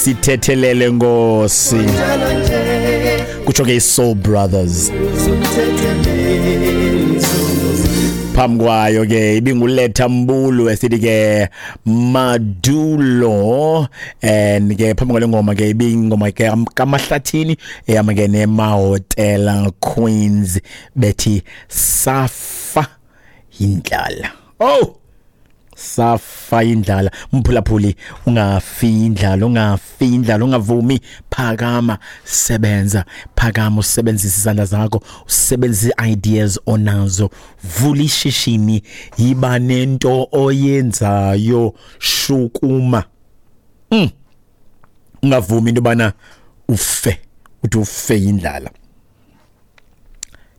Sithethelele Nkosi, kutsho ke i-Soul Brothers. Phambi kwayo ke ibinguletha Mbulu esithi ke Madulo, and ke phambi kwale ngoma ke ibingoma ke kaMahlathini ehamba ke neMahotela Queens bethi safa indlala. Oh, safa indlala. Mphulaphuli, ungafi indlala, ungafi indlala, ungavumi. Phakama, sebenza, phakama, usebenzise izandla zakho, usebenzise ideas onazo, vula ishishini, yiba nento oyenzayo, shukuma. Ungavumi into bana ufe, uthi ufe indlala.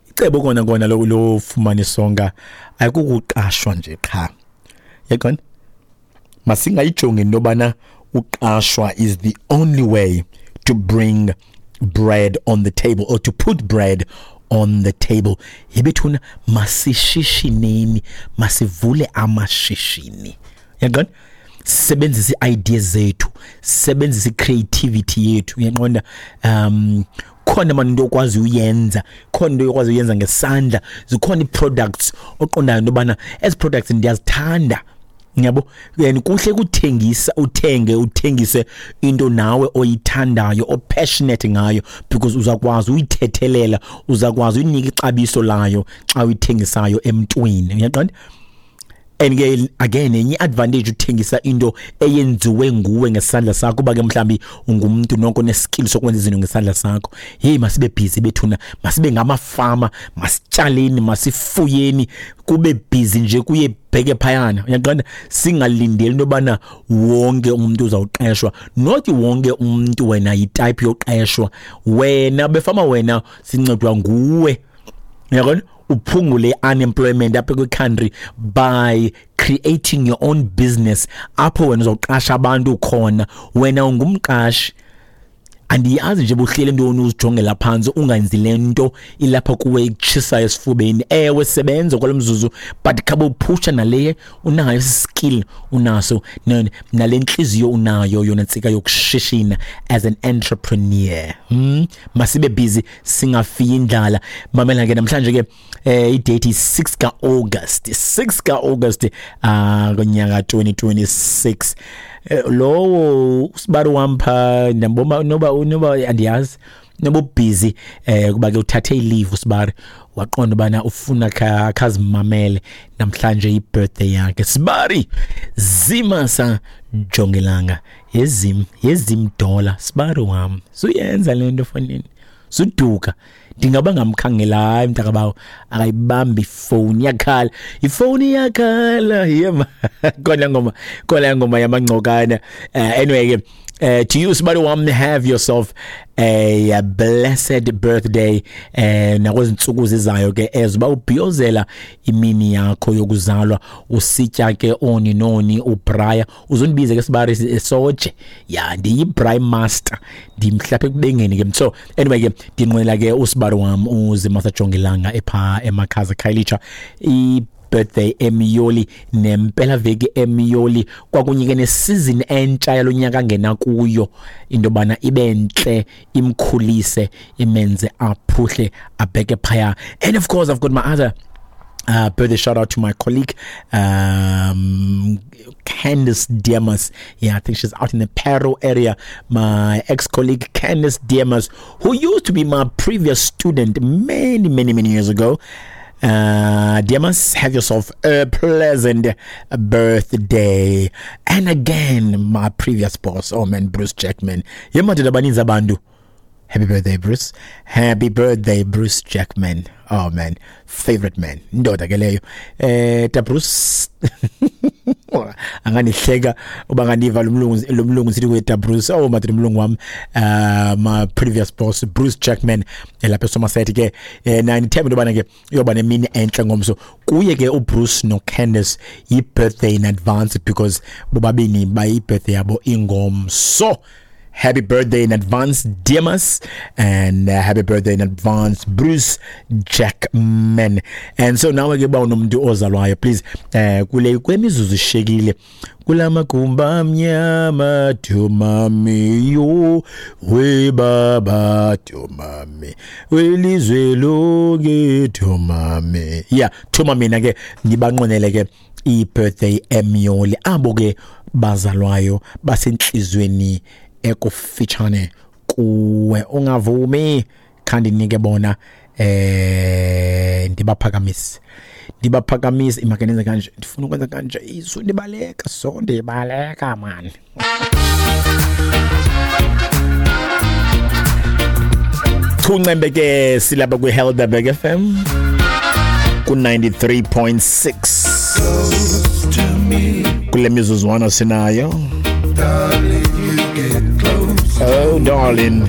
Icebo kona kona lofumana isonka ayikukuqashwa nje qha. Yaqona, masingayijongi into yobana uqashwa is the only way to bring bread on the table or to put bread on the table. Yebethuna, masishishineni, masivule amashishini. Yaqona, sebenzisa ii-ideas zethu, sebenzisa i-creativity yethu. Uyaqonda, khona mani into okwazi uyenza, khona into okwazi uyenza ngesandla, zikhona ii-products oqondayo into yobana ezi products ndiyazithanda. Yabo, and kuhle kuthengisa, uthenge uthengise into nawe oyithandayo, o-passionate ngayo, because uzakwazi uyithethelela, uzakwazi uyinika ixabiso layo xa uyithengisayo emntwini. Uyaqonda? And ke again, enye advantage uthengisa into eyenziwe nguwe ngesandla sakho, kuba ke mhlambi ungumntu nonke oneskill sokwenza izinto ngesandla sakho. Hey, masibe busy bethuna, masibe ngamafama, masitshaleni, masifuyeni, kube busy nje, kuye bheke phayana. Uyaqonda, singalindeli into yobana wonke umuntu uzawuqeshwa. Not wonke umuntu wena yitype yoqeshwa. Wena befama, wena sincedwa nguwe. Uyabona, uphungule unemployment apha kwi-country by creating your own business apho wena uzawuqasha abantu khona, wena ungumqashi. Andiyazi nje buhlele ntoni uzijongela phantsi, ungenzi le nto ilapha kuwe ikutshisayo esifubeni. Ewe, sebenza kwalo mzuzu, but khabe uphusha nale unayo, skill unaso, nale ntliziyo unayo yona ntsika yokushishina as an entrepreneur. Masibe busy, singafiyi indlala. Mamela ke, namhlanje ke idate is 6 ka-August, 6 ka-August konyaka 2026. Lowo usibari wam pha ndiyambona, noba andiyazi noba ubusy, kuba ke uthathe ileave usibari, waqonda ubana ufuna khazimamele namhlanje i-birthday yakhe. Sibari Zimasa Jongilanga, yezim yezim dollar, sibari wam, suyenza le nto fonini, suduka. Ndingaba ngamkhangela, hayi mntakabawo, akayibambi ifowuni, iyakhala ifowuni, iyakhala. Yema khona ngoma, khona ngoma yamangcokana. Anyway ke, to you sibari wam, have yourself a blessed birthday, nakwezi ntsuku zizayo ke ezo uba ubhiyozela imini yakho yokuzalwa, usitya ke oni noni ubraya, uzondibize ke sibari soje ya, ndiyi-braai master, ndimhlapha ekubengeni ke. So anyway ke, ndinqwela ke usibari wam uZimasa Jongilanga epha eMakhaza Khayelitsha i-birthday emyoli, nempelaveki emyoli, kwakunye ke nesizini entsha yalo nyaka angena kuyo, into yobana ibe ntle, imkhulise, imenze aphuhle, abheke phaya. And of course I've got my other birthday shout out to my colleague, Candice Diamas. Yeah, I think she's out in the Parow area. My ex-colleague Candice Diamas, who used to be my previous student many, many, many years ago. Diamas, have yourself a pleasant birthday. And again, my previous boss, oh man, Bruce Jackman. Yemadoda baninzi abantu. Happy birthday, Bruce. Happy birthday, Bruce Jackman. Oh man, favorite man. Indoda ke leyo. Ta Bruce. Anganihleka uba ngandiva lo mlungu sithi kuye ta Bruce. Oh madoda, umlungu wam. My previous boss Bruce Jackman elapha eSomerset ke. Na ndithemba into yobana ke uyoba nemini entle ngomso. Kuye ke uBruce no Candice i-birthday in advance, because bobabini bayi birthday yabo ingomso. Happy birthday in advance, Demas, and happy birthday in advance, Bruce Jackman. And so now ke ba unomntu ozalwayo, please, kule kwemizuzu ishekile kulamagumba amnyama, thumami yo we baba, thumami welizwe lonke, thumami. Yeah, thuma mina ke ngibanqwenele ke i-birthday emyoli abo ke bazalwayo basenhlizweni ekufitshane kuwe. Ungavumi khandinike bona, ndibaphakamise, ndibaphakamise. Imake nenze kanje, ndifuna ukwenza kanje, isu ndibaleka, so ndibaleka man. Chuncembe ke silapha kwi-Helderberg FM ku-93.6 kule mizuzwana sinayo. Oh darling,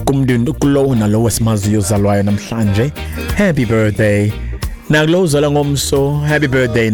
kumntu kulowo nalowo esimaziyo ozalwayo namhlanje, happy birthday. Nakulowo uzalwa ngomso, happy birthday.